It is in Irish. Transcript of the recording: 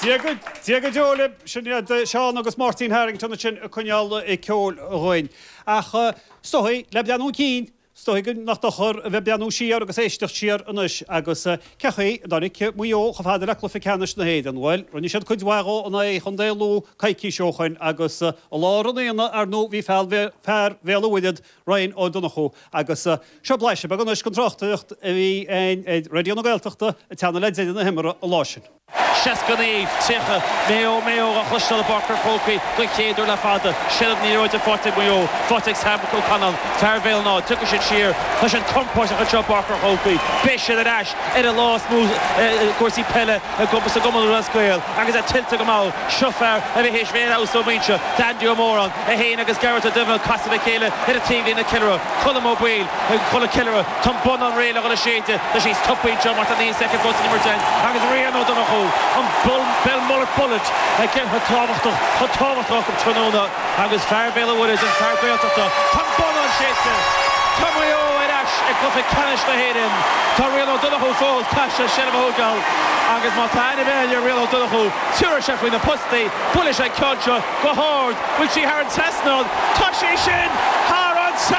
Dia go Dia go deo libh, sin iad Seán agus Máirtín Harrington ansin ag coinneáil ceoil dhúinn. Ach is dóigh, le breathnú chun cinn, is dóigh go nach dochar a bheith ag breathnú siar agus éisteacht siar anois agus cé chaoi a dtáinig Maigh Eo chomh fada le cluiche ceannais na hÉireann? Bhuel, rinne siad cuid mhaith dhó in aghaidh Chontae Lú coicís ó shoin agus i lár an aonaigh, ar ndóigh, bhí fear Bhéal an Mhuirthead, Ryan Ó Donnchú agus seo blaiseadh beag anois den tráchtaireacht a bhí againn ar Raidió na Gaeltachta ag teannadh le deireadh na himeartha an lá sin. 69, 30, Maigh Eo, Maigh Eo á chloisteáil i bPáirc an Chrócaigh don chéad uair le fada. Seilbh na liathróide faighte ag Maigh Eo, faighte ag Sam O'Connell, fear Bhéal an Átha. Tiocfaidh siad siar. Tá siad compóirteach anseo i bPáirc an Chrócaigh. Beidh siad ar ais ar an lá is mó i gcúrsaí peile i sa gCumann Lúthchleas Gael agus é tuillte go mall. Seo fear a bhí théis bheith ar fheabhas ó mhuinse, Andy Ó Móráin, é féin agus Gareth Ó Duibhne ag casadh le chéile ar an taobhlíne Ceiliúradh, Colm Ó Baoill ag dul ag ceiliúradh. Tá an bonnán réidh le dhul a séideadh. Tá sí stoptha anseo má tá 9 soicind fós san imirt againn agus Rian Ó Donnchú, an Belmullet Bullet, chomh tábhachtach, chomh tábhachtach acu tráthnóna agus fear Bhéal an Mhuirthead, an fear Gaeltachta. Tá an bonnán séidte. Tá Maigh Eo ar ais i gcluiche ceannais na hÉireann. Tá Rian Ó Donnchú fós, caithfidh sé seilbh a thógáil agus má tá aithne ar bith ar Rian Ó Donnchú, tiúrfaidh sé faoi na postaí, buailfidh sé an ceann seo go hard. Bhfuil sí thar an trasnán? Tá sí sin!